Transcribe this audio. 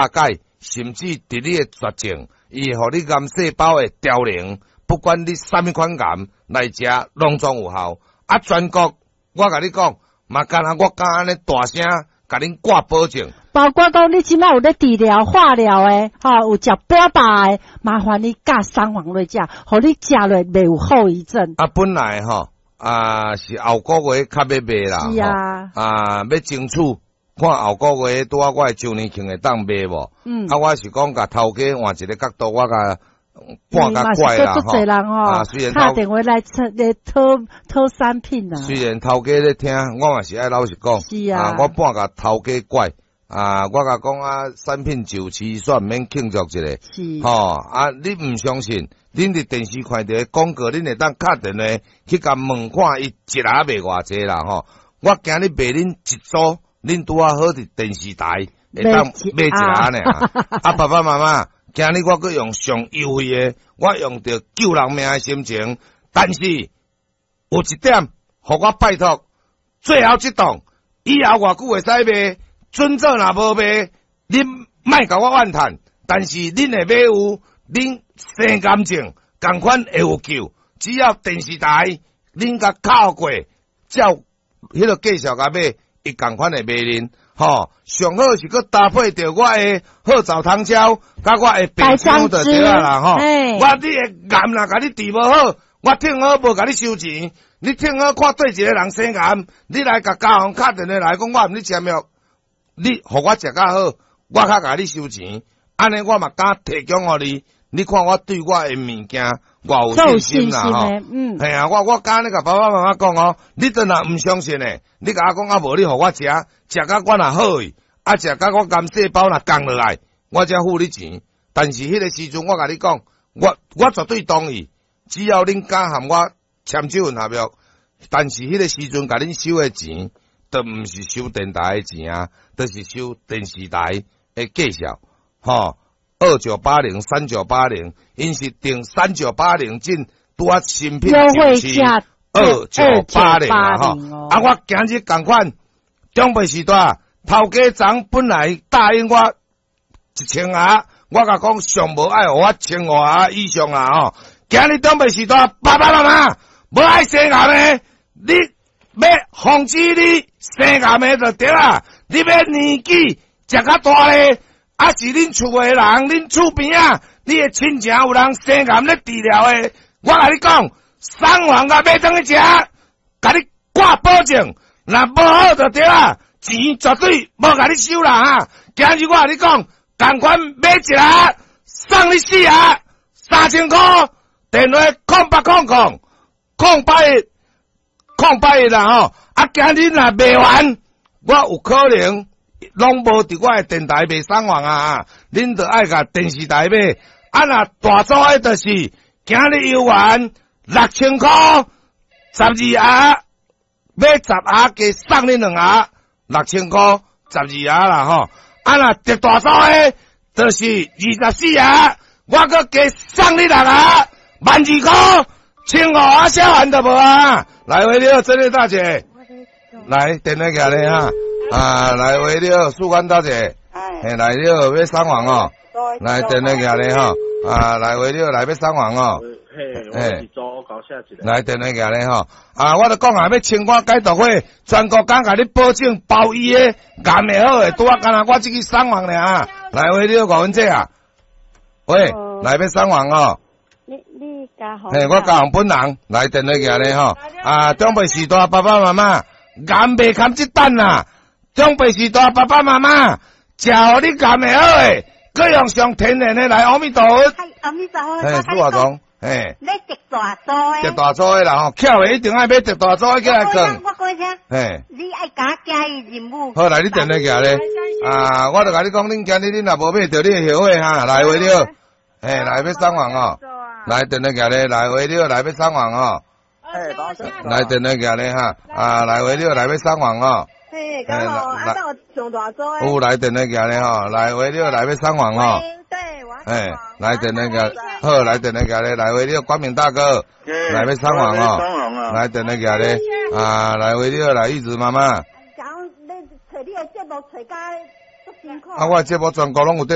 解，甚至佇你的絕症，伊會予你癌細胞的凋零，不管你啥物款癌來食，攏總有效。啊，全國我共你講，嘛敢若我敢按呢大聲共恁掛保證。包括講你這擺有咧治療、化療的，吼，有食標靶的，麻煩你佮三黃落食，予你食落袂有後遺症。啊，本來吼啊是後個月較欲賣啦，是啊，啊欲爭取看後個月拄仔我的周年慶會當賣無？啊，我是講共頭家換一個角度，我共半較怪啦吼。啊，雖然敲電話來來討討產品啊。雖然頭家咧聽，我嘛是愛老實講。是啊。啊，我半共頭家怪。啊，我共講啊，產品就市煞毋免慶祝一下。是。吼啊，你毋相信？恁佇電視看著廣告，恁會當敲電話去共問看，伊一盒賣偌濟啦吼。我今日賣恁一組，恁拄仔好佇電視台會當買一盒爾。啊，爸爸媽媽，今日我閣用上優惠的，我用著救人命的心情，但是有一點，予我拜託，最後這檔以後偌久會使賣？準做若無賣，恁莫共我怨嘆。但是恁會買有，恁生癌症仝款會有救。只要電視台恁共敲過，照彼个介紹共買，伊仝款會賣恁。吼，上好是閣搭配著我的好棗糖膠，佮我的白薑就對啊啦吼。我你的癌若共你治無好，我聽好無共你收錢。你聽好看對一個人生癌，你來共家訪敲電話來講，我毋咧簽約。你予我食較好，我較共你收錢，按呢我嘛敢提供予你。你看我對我的物件，偌有信心啦吼。嘿啊，我敢按呢共爸爸媽媽講哦，你真若毋相信的，你共我講啊無，你予我食，食甲我若好去，啊食甲我癌細胞若降落來，我才付你錢。但是彼个時陣，我共你講，我絕對同意，只要恁敢和我簽這份合約，但是彼个時陣共恁收的錢，都毋是收電台的錢啊，就是收電視台的介紹，吼，2980 3980，𪜶是定三九八零進拄仔新品就是二九八零啊，吼，啊，我今日仝款，長輩時代頭家昨本來答應我1000盒，我共講上無愛予我1500盒以上啊，吼，今日長輩時代爸爸媽媽無愛生癌的，你欲防止你生癌的就對啦，你欲年紀食較大咧，抑是恁厝的人，恁厝邊仔，你的親情有人生癌咧治療的，我共你講，三黃共買轉去食，共你掛保證，若無好就對啦，錢絕對無共你收啦哈。今日我共你講，仝款買一盒，送你四盒，3000箍，電話0800 00 081 081啦吼。啊，今日若賣完，我有可能攏無佇我的電台賣送黃啊！恁著愛共電視台買。啊，若大組的，就是今日猶原6000箍，12盒買10盒，加送你兩盒，六千箍十二盒啦吼。啊，若特大組的，就是24盒，我閣加送你六盒，12,000箍，1500盒寫完就無啊！來，喂，你好，這位大姐，來電話寄來哈，啊，來喂，你好，素官大姐，嘿，來你好，欲送黃哦，來電話寄來吼，啊，來喂，你好，來欲送黃哦，嘿，來電話寄來吼，啊，我就講啊，欲清肝解毒火，全國敢共你保證包醫的，癌會好的，拄仔敢若我這支送黃爾，來喂，你好，吳文姐啊，喂，來欲送黃哦。你家嘿，我家雄本人來電話寄咧吼，啊，長輩時代爸爸媽媽，癌袂堪這等啦，長輩時代爸爸媽媽，食予你癌會好的，閣用上天然的來阿彌陀佛。阿彌陀佛。嘿，蘇華總，嘿。欲特大組的。特大組的啦吼，巧的一定愛買特大組的起來講。我講聲。嘿。你愛共我寄任務。好，來你電話寄咧，啊，我就共你講，恁今日恁若無買著，你會後悔哈。來，喂你好，嘿，來欲送黃哦。來電話寄咧，來喂你好，來欲送黃哦。來電話寄咧哈，啊，來喂你好，來欲送黃哦。嘿，剛好，啊，那我上大組的。有來電話寄咧吼，來喂你好，來欲送黃哦。對，我。嘿，來電話寄，好，來電話寄咧，來喂你好，光明大哥，來欲送黃哦。來電話寄咧，啊，來喂你好，來玉子媽媽。講你揣你的節目揣甲足辛苦。啊，我的節目全國攏有綴。